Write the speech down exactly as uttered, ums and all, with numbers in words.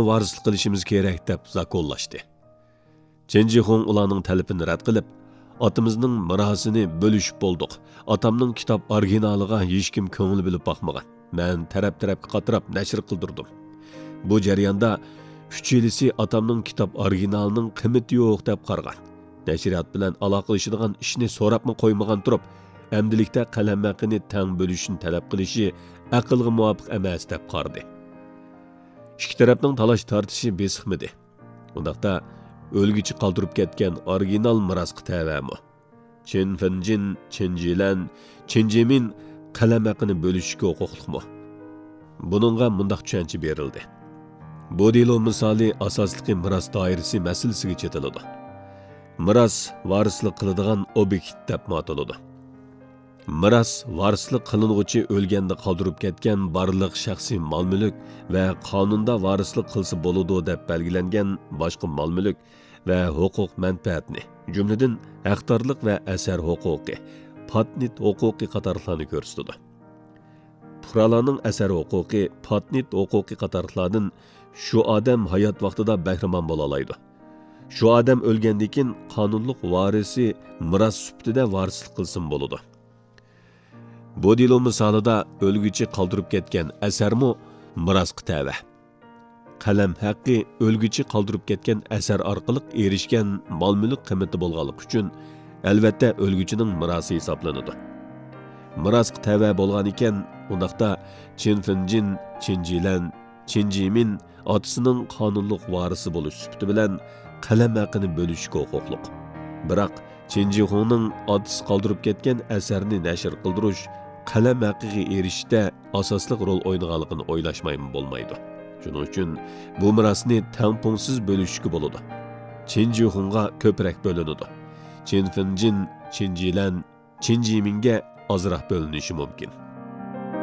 ۋارىسلىق قىلىشىمىز كېرەك دەپ زاكونلاشتى. چېن جىخۇڭ ئۇلارنىڭ تەلىپىنى رەت قىلىپ، ئاتىمىزنىڭ مىراسىنى بۆلۈشۈپ بولدۇق. ئاتامنىڭ كىتاب ئورىگىنالىغا ھېچكىم كۆڭۈل بۆلۈپ باقمىغان. مەن تەرەپ-تەرەپكە قاتراپ نەشر قىلدۇردۇم. بۇ جەرياندا ئۈچىلىسى ئاتامنىڭ كىتاب ئورىگىنالىنىڭ قىممىتى يوق دەپ قارىغان. نەشرىيات بىلەن ئالاقىلىشىدىغان ئىشنى سوراپمۇ قويمىغان تۇرۇپ، ئەمدىلىكتە قەلەم ھەققىنى تەڭ بۆلۈشنى تەلەپ قىلىشى ئەقىلگە مۇۋاپىق ئەمەس دەپ قارىدى. ئىككى تەرەپنىڭ تالاش-تارتىشى بېسىقمىدى. ئۇنداقتا ئۆلگۈچى قالدۇرۇپ كەتكەن ئورىگىنال مىراسقا تەۋەمۇ؟ چېن فېنجىن، چېن جىلەن، چېن جىمىن قەلەم ھەققىنى بۆلۈشۈشكە ھوقۇقلۇقمۇ؟ بۇنىڭغا مۇنداق چۈشەنچە بېرىلدى. بۇ دېلو مىسالى ئاساسلىقى مىراس دائىرىسى مەسىلىسىگە چېتىلىدۇ. مىراس ۋارىسلىق قىلىدىغان ئوبيېكت دەپمۇ ئاتىلىدۇ. مىراس ۋارىسلىق قىلىنغۇچى ئۆلگەندە قالدۇرۇپ كەتكەن بارلىق شەخسىي مال-مۈلۈك ۋە قانۇندا ۋارىسلىق قىلسا بولىدۇ دەپ بەلگىلەنگەن باشقا مال-مۈلۈك ۋە ھوقۇق-مەنپەئەتنى، جۈملىدىن ھەقدارلىق ۋە ئەسەر ھوقۇقى، پاتېنت ھوقۇقى قاتارلىقلارنى كۆرسىتىدۇ. پۇقرالارنىڭ ئەسەر ھوقۇقى، پاتېنت ھوقۇقى قاتارلىقلاردىن شۇ ئادەم ھايات ۋاقتىدا بەھرىمەن بولالايدۇ. شۇ ئادەم ئۆلگەندىن كېيىن قانۇنلۇق ۋارىسى مىراس سۈپىتىدە ۋارىسلىق قىلسىمۇ بولىدۇ. بۇ دېلو مىسالىدا ئۆلگۈچى قالدۇرۇپ كەتكەن ئەسەرمۇ مىراسقا تەۋە. قەلەم ھەققى ئۆلگۈچى قالدۇرۇپ كەتكەن ئەسەر ئارقىلىق ئېرىشكەن مال-مۈلۈك قىممىتى بولغانلىقى ئۈچۈن، ئەلۋەتتە، ئۆلگۈچىنىڭ مىراسى ھېسابلىنىدۇ. مىراسقا تەۋە بولغانىكەن، ئۇنداقتا چېن فېنجىن، چېن جىلەن، چېن جىمىن ئاتىسىنىڭ قانۇنلۇق ۋارىسى بولۇش سۈپىتى بىلەن قەلەم ھەققىنى بۆلۈشكە ھوقۇقلۇق. بىراق، چېن جىخۇڭنىڭ ئاتىسى قالدۇرۇپ كەتكەن ئەسەرنى نەشر قىلدۇرۇش، قەلەم ھەققىگە ئېرىشىشتە ئاساسلىق رول ئوينىغانلىقىنى ئويلاشمايمۇ بولمايدۇ. شۇنىڭ ئۈچۈن بۇ مىراسنى تەڭپۇڭسىز بۆلۈشكە بولىدۇ. چېن جىخۇڭغا كۆپرەك بۆلۈنىدۇ. چېن فېنجىن، چېن جىلەن، چېن جىمىنگە ئازراق بۆلۈنۈشى مۇمكىن.